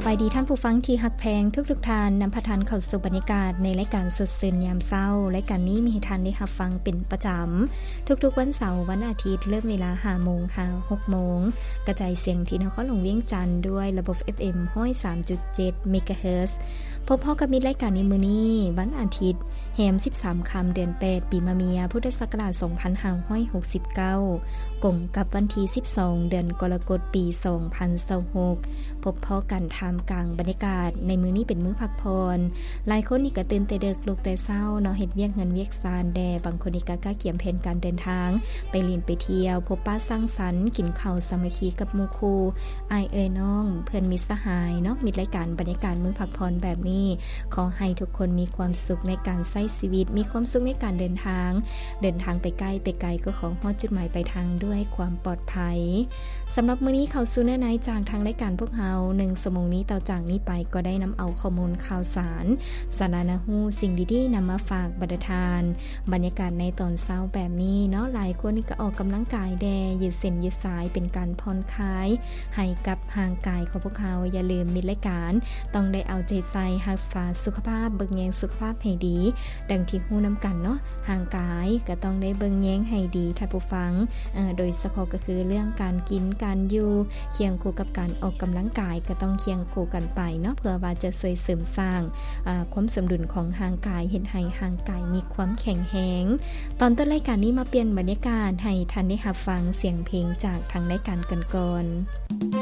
ສະບາຍດີທ່ານຜູ້ຟັງທີ່ຮັກແພງທຸກໆທ່ານ, ນຳພາທ່ານເຂົ້າສູ່ບັນຍາກາດໃນລາຍການສົດຊື່ນຍາມເຊົ້າ. ລາຍການນີ້ມີໃຫ້ທ່ານໄດ້ຮັບຟັງເປັນປະຈຳທຸກໆວັນເສົາ, ວັນອາທິດ, ເລີ່ມເວລາຫ້າໂມງຫາຫົກໂມງ, ກະຈາຍສຽງທີ່ນະຄອນຫຼວງວຽງຈັນດ້ວຍລະບົບ ເອັຟເອັມ ຮ້ອຍສາມຈຸດເຈັດ ເມກາເຮີດ. ພົບພໍ້ກັບມິດລາຍການໃນມື້ນີ້, ວັນອາທິດ, ແຮມສິບສາມຄ່ຳ ເດືອນແປດ ປີມະເມຍ ພຸດທະສັກກະລາດສອງພັນຫ້າຮ້ອຍຫົກສິບເກົ້າ ກົງກັບວັນທີສິບສອງ ເດືອນກໍລະກົດ ປີສອງພັນຊາວຫົກ ພົບພໍ້ກັນທ່າມກາງບັນຍາກາດໃນມື້ນີ້ເປັນມື້ພັກຜ່ອນ. ຫຼາຍຄົນນີ້ກະຕື່ນແຕ່ເດິກ ລຸກແຕ່ເຊົ້າເນາະ, ເຮັດວຽກເຮືອນວຽກຊານແດ່, ບາງຄົນນີ້ກະກະກຽມແຜນການເດີນທາງໄປຫຼິ້ນໄປທ່ຽວ, ພົບປະສັງສັນ, ກິນເຂົ້າສາມັກຄີກັບໝູ່ຄູ່ ອ້າຍເອື້ອຍນ້ອງ ເພື່ອນມິດສະຫາຍເນາະ. ມິດລາຍການບັນຍາກາດມື້ພັກຜ່ອນແບບນີ້, ຂໍໃຫ້ທຸກຄົນມີຄວາມສຸກໃນການໃຊ້ຊີວິດ, ມີຄວາມສຸກໃນການເດີນທາງ, ເດີນທາງໄປໃກ້ໄປໄກກໍຂໍຮອດຈຸດໝາຍປາຍທາງດ້ວຍຄວາມປອດໄພ. ສຳລັບມື້ນີ້ເຂົ້າສູ່ເນື້ອໃນຈາກທາງລາຍການພວກເຮົາ, ໜຶ່ງຊົ່ວໂມງນີ້ຕໍ່ຈາກນີ້ໄປກໍໄດ້ນຳເອົາຂໍ້ມູນຂ່າວສານ, ສາລະໜ້າຮູ້, ສິ່ງດີໆນຳມາຝາກບັນດາທ່ານ. ບັນຍາກາດໃນຕອນເຊົ້າແບບນີ້ເນາະ, ຫຼາຍຄົນນີ້ກໍອອກກຳລັງກາຍແດ່, ຢືດເສັ້ນຢືດສາຍ ເປັນການຜ່ອນຄາຍໃຫ້ກັບຮ່າງກາຍຂອງພວກເຮົາ. ຢ່າລືມມິດລາຍການຕ້ອງໄດ້ເອົາໃຈໃສ່ຮັກສາສຸຂະພາບ, ເບິ່ງແຍງສຸຂະພາບໃຫ້ດີ. ດັ່ງທີ່ຮູ້ນຳກັນເນາະ, ຮ່າງກາຍກໍຕ້ອງໄດ້ເບິ່ງແຍງໃຫ້ດີທ່ານຜູ້ຟັງ, ເອີ ໂດຍສະເພາະກໍຄືເລື່ອງການກິນການຢູ່, ຄຽງຄູ່ກັບການອອກກຳລັງກາຍ ກໍຕ້ອງຄຽງຄູ່ກັນໄປເນາະ, ເພື່ອວ່າຈະຊ່ວຍເສີມສ້າງ ອາ ຄວາມສົມດຸນຂອງຮ່າງກາຍ, ເຮັດໃຫ້ຮ່າງກາຍມີຄວາມແຂງແຮງ. ຕອນຕົ້ນລາຍການນີ້ມາປ່ຽນບັນຍາກາດໃຫ້ທ່ານໄດ້ຮັບຟັງສຽງເພງຈາກທາງລາຍການກັນກ່ອນ.